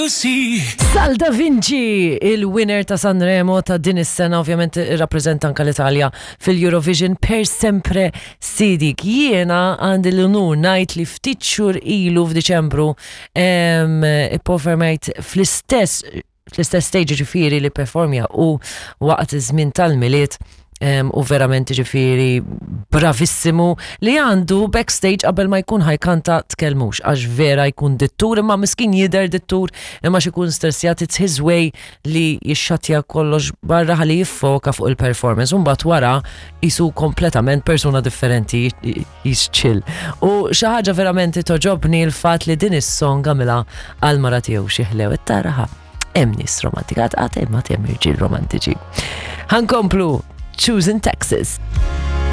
see. Sal Da Vinci, il-winner ta' Sanremo ta' din is-sena ovvjament irrappreżenta anka l-Italja fil-Eurovision per sempre sidik. Jiena għandi l-unur ngħid li ftit xhur ilu f'Diċembru ipperformajt fl-istess fl-istess stage ġifieri li performja u waqt iż-żmien tal-Milied u verament ġifieri bravissimu li għandu backstage qabel ma jkun ħajkanta tkellmux għax vera jkun dittur imma miskin jidher dittur imma xi jkun stressjat it's his way li jixxatja kollox barra ħalli jiffoka fuq il-performance. U mbagħad wara jisu kompletament persuna differenti, he's chill. U xi ħaġa verament togħġobni l-fatt li din is-song għamilha għal mara tiegħu xi ħlew taraha. Hemm nies romantika, għad hemm għad hemm irġiel romantiċi. Ħa nkomplu Choosing Texas.